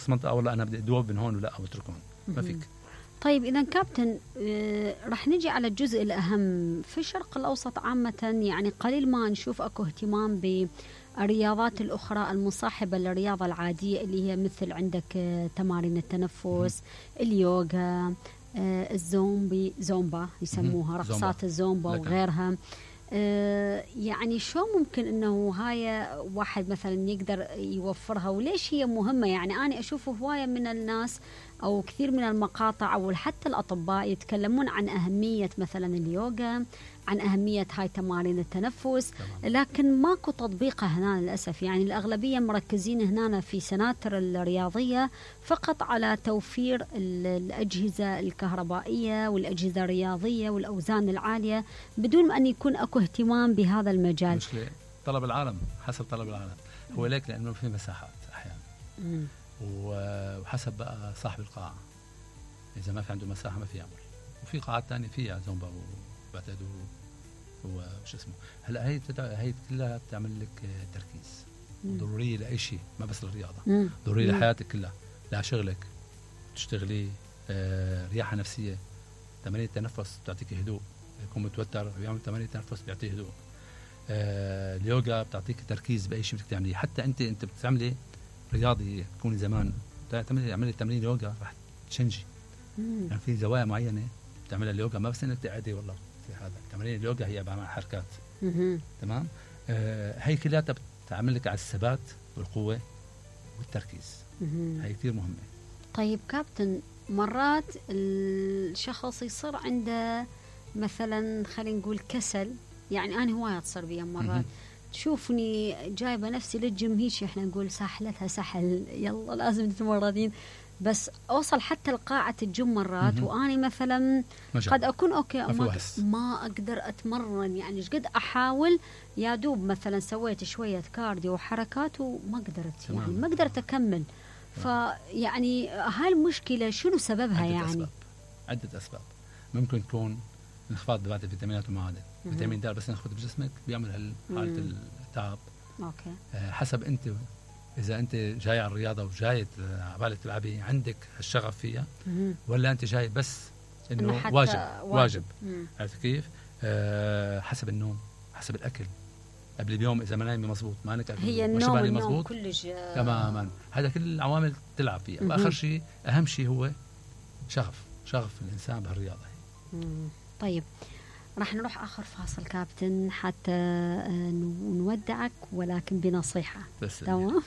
منطقه والله انا بدي ادوب من هون ولا او اترك هون، ما فيك. طيب إذا كابتن رح نجي على الجزء الأهم في الشرق الأوسط عامة، يعني قليل ما نشوف أكو اهتمام بالرياضات الأخرى المصاحبة للرياضة العادية اللي هي مثل عندك تمارين التنفس، اليوغا، زومبا يسموها، رقصات الزومبا وغيرها. يعني شو ممكن انه هاي واحد مثلا يقدر يوفرها، وليش هي مهمة؟ يعني انا اشوف هواية من الناس او كثير من المقاطع او حتى الاطباء يتكلمون عن اهمية مثلا اليوغا، عن اهمية هاي تمارين التنفس، لكن ماكو تطبيقها هنا للاسف. يعني الاغلبية مركزين هنا في سناتر الرياضية فقط على توفير الاجهزة الكهربائية والاجهزة الرياضية والاوزان العالية بدون ان يكون اكو اهتمام بهذا المجال. مشكلة طلب العالم، حسب طلب العالم هو ليك، لانه في مساحات احيانا وحسب بقى صاحب القاعة، اذا ما في عنده مساحة ما في يعمل. وفي قاعات تانية فيها زومبا وبعتقد وش اسمه. هلا هي كلها بتعمل لك تركيز، ضرورية لأي شيء، ما بس للرياضة، ضرورية لحياتك كلها، لشغلك تشتغلي، رياحة نفسية. تمارين التنفس بتعطيك هدوء، يكون متوتر بيعمل تمارين التنفس بيعطيه هدوء. اليوغا بتعطيك تركيز بأي شيء بدك تعمليه. حتى انت بتعملي رياضي تكوني زمان تعملي تمرين يوغا رح تشنجي. يعني في زوايا معينة بتعملها اليوغا، ما بس انك تقعدي والله في هذا. تمارين اليوغا هي عبارة عن حركات. تمام. هي كلها بتعمل لك على الثبات والقوة والتركيز. هي كثير مهمة. طيب كابتن، مرات الشخص يصير عنده مثلا خلينا نقول كسل، يعني أنا هواية تصير بيا مرات تشوفني جايبة نفسي للجيم، هيك احنا نقول ساحلتها سحل، يلا لازم تتمرنين، بس أوصل حتى لقاعة الجيم مرات وأني مثلا قد أكون أوكي ما أقدر أتمرن. يعني قد أحاول، يا دوب مثلا سويت شوية كارديو وحركات وما قدرت، يعني ما قدرت أكمل. فيعني هاي المشكلة شنو سببها؟ يعني عدة أسباب. ممكن تكون انخفاض بعض الفيتامينات والمعادن. فيتامين د بس ناخذ بجسمك بيعمل حالة التعب. أوكي. حسب أنت، إذا أنت جاي على الرياضة وجاي عبالة تلعبي عندك الشغف فيها، ولا أنت جاي بس إنه واجب. عرفت كيف؟ حسب النوم، حسب الأكل قبل اليوم، إذا ما نايمي مزبوط، ما أنك هي النوم كلش تماما. هذا كل العوامل تلعب فيها. وآخر شيء أهم شيء هو شغف الإنسان بهالرياضة. طيب راح نروح آخر فاصل كابتن حتى نودعك، ولكن بنصيحة. تمام.